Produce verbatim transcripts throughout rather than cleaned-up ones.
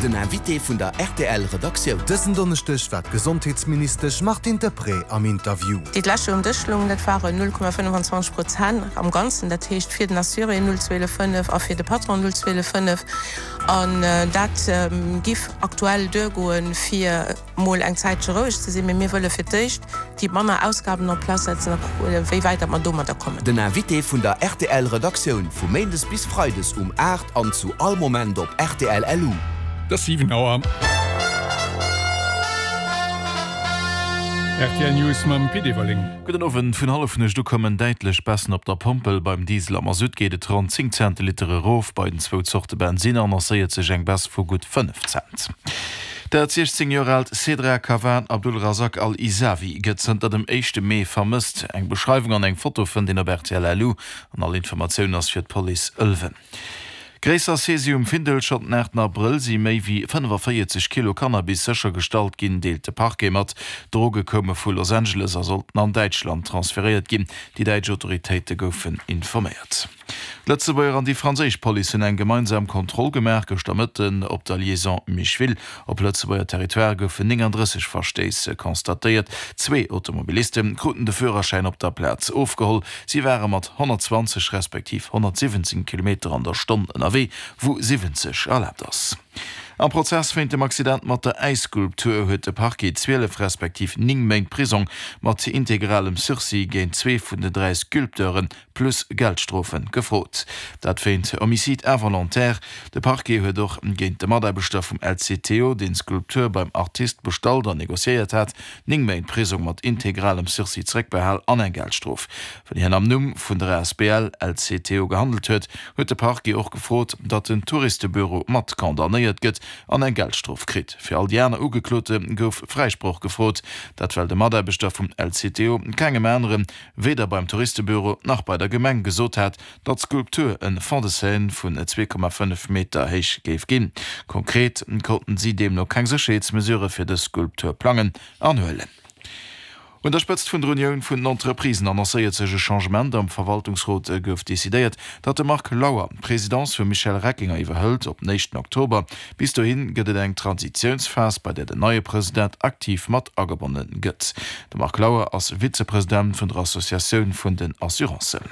Den Invité vun der R T L Redaktioun. Dësen Donneschdeg war d'Gesondheetsministesch Martine Deprez am Interview. Déi d'lescht um Dësch loungen, dat waren null Komma fënnfanzwanzeg Prozent am Ganzen, dat heescht fir den Assuré null Komma zwielef fënnef a fir de Patron null Komma zwielef fënnef, an dat giff aktuell duergoen, fir mol eng Zäitche roueg ze sinn, mee mir wëlle fir d'éischt déi manner Ausgaben en place setzen a kucken, wéi wäit dat mer domadder kommen. Den Invité vun der R T L Redaktioun vu Méindes bis Freides um aacht an zu all Moment op R T L L U. Et ass siwen Auer. R T L News mam Pit Everling. Gudden Owend. Vun Hallefnuecht u kommen däitlech Baissen op der Pompel. Beim Diesel a Masutt geet et ronn zéng Cent de Liter erof, bei den zwou Zorte Bensinn annoncéiert sech eng Baisse vu gutt fënnef Cent. Dat siechzéng Joer aalt Sedra Kawan Abdulrazak Al-Isawi gëtt zënter dem éischte Mee vermësst. Eng Beschreiwung an eng Foto fënnt een op R T L L U an all Informatioun ass fir d'Police Ëlwen. Gréisser Saisie um Findel. Schonn den aachten Abrëll si méi wéi fënnefavéierzeg Kilo Cannabis séchergestallt ginn, deelt de Parquet mat. D'Droge koume vu Los Angeles a sollten an Däitschland transferéiert ginn. Déi däitsch Autoritéite goufen informéiert. D'Lëtzebuerger an déi franséisch Police hunn eng gemeinsam Kontroll gemaach gëschter Mëtten op der Liaison Micheville. Op Lëtzebuerger Territoire goufen nénganddrësseg Verstéiss constatéiert. Zwee Automobiliste kruten de Führerschäin op der Plaz ofgeholl. Si ware mat honnertzwanzeg respektiv honnertsiwwenzéng Kilometer an der Stonn ënnerwee, wou siwwenzeg erlaabt ass. Am Prozess wéint dem Accident mat der Äisskulptur huet de Parquet zwielef respektiv néng Méint Prisong mat integralem Sursis géint zwee vun den dräi Sculpteure plus Geldstrofe gefrot. Dat wéint Homicide involontaire. De Parquet huet och géint de Mataarbechter vum L C T O, deen d'Skulptur beim Artist bestallt an negociéiert hat, néng Méint Prisong mat integralem Sursis zeréckbehal an eng Geldstrof. Well hien am Numm vun der A S B L L C T O gehandelt huet, huet de Parquet och gefrot, datt den Touristebüro mat condamnéiert gëtt an eng Geldstrof kritt. Fir all déi aner Ugeklote gouf Fräisproch gefrot, dat well de Mataarbechter vum L C T O kengem aneren, weder beim Touristebüro nach bei der Gemeng gesot hat, datt d'Skulptur e Fond de scène vun zwee Komma fënnef Meter héich géif ginn. Konkret konnten si deemno keng Sécherheetsmesurë fir dës Skulptur plangen an huelen. Un der Spëtzt vun der Unioun vun den Entreprisen annoncéiert sech e Changement. Am Verwaltungsrot gouf decidéiert, datt de Marc Lauer d'Presidence vum Michel Reckinger iwwerhëlt op den éischten Oktober. Bis dohi gëtt et eng Transitiounsphas, bei där den neie President aktiv mat agebonne gëtt. De Marc Lauer ass Vizepresident vun der Associatioun vun den Assurancen.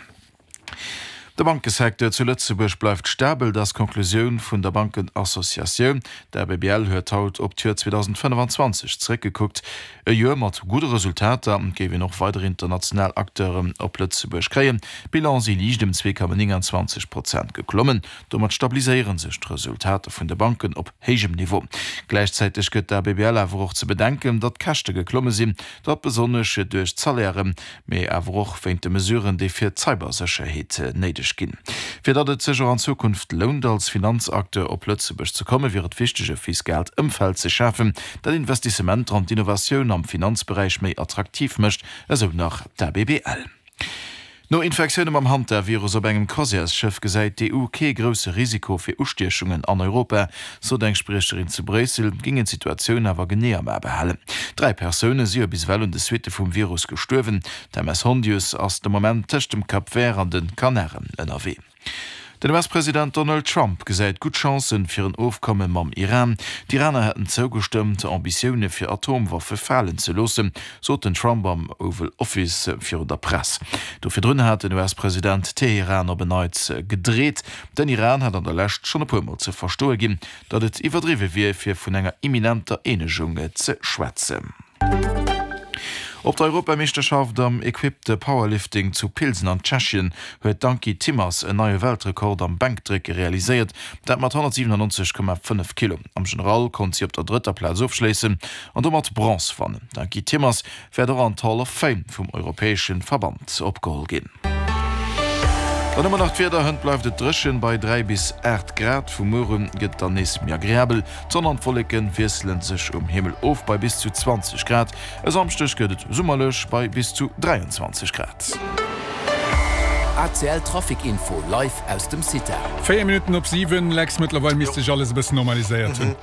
De Bankesecteur zu Lëtzebuerg bleift stabel, dat ass d'Konklusioun vun der Bankenassociatioun. D'A B B L huet haut op d'Joer zweedausendfënnfanzwanzeg zeréckgekuckt. E Joer mat gudde Resultater, géif een och weider international Acteuren op Lëtzebuerg kréien. D'Bilan si liicht ëm zwee Komma nénganzwanzeg Prozent geklommen. Domat stabiliséiere sech d'Resultater vun de Banken op héijem Niveau. Gläichzäiteg gëtt d'A B B L awer och ze bedenken, datt d'Käschte geklomme sinn, dat besonnesch duerch d'Salairen, mee awer och wéint de Mesuren, déi fir d'Cybersécherheet néideg ginn. Fir datt et sech och an Zukunft lount, als Finanzacteur op Lëtzebuerg ze kommen, wier et wichteg, e fiskaalt Ëmfeld ze schafen, dat Investissementer an d'Innovatioun am Finanzberäich méi attraktiv mécht, esou nach d'A B B L. No Infektioune mam Hantavirus op engem Croisièresschëff gesäit d'E U kee grousse Risiko fir Ustiechungen an Europa, sot eng Spriecherin zu Bréissel, géingen d'Situatioun awer genee am A behalen. Dräi Persoune si jo bis ewell un de Suitte vum Virus gestuerwen. D'M S Hondius ass de Moment tëscht dem Cap Vert an de Kanaren ënnerwee. Den U S-President Donald Trump gesäit gutt Chancen fir en Ofkomme mam Iran. D'Iraner hätten zougestëmmt, Ambitioune fir Atomwaffe falen ze loossen, sot den Trump am Oval Office virun der Press. Do virdrun hat den U S-President Teheran op en Neits gedreet. Den Iran hat an der Lescht schonn e puer Mol ze verstoe ginn, datt et iwwerdriwwe wier, fir vun enger imminenter Eenegung ze schwätzen. Op der Europameeschterschaft am Equipped Powerlifting zu Pilsen an Tschechien huet d'Ankie Timmers en neie Weltrekord am Bänkdrécke realiséiert, dat mat honnertsiwenannonzeg Komma fënnef Kilo. Am General konnt si op der drëtter Plaz ofschléissen an domat Bronze wannen. D'Ankie Timmers wäert och an d'Hall of Fame vum europäesche Verband opgeholl ginn. Dann hu mer nach d'Wieder, Hënt bleift et dréchen bei dräi bis aacht Grad, vu muer un gëtt et dann nees méi agreabel. D'Sonn an d'Wolleke wiessele sech um Himmel of bei bis zu zwanzeg Grad. E Samschdeg gëtt et summerlech bei bis zu dräianzwanzeg Grad. A C L Trafic Info live aus dem CITA. Véier Minutten op siwen, Lex, mëttlerweil misst sech alles e bëssen normaliséiert hunn.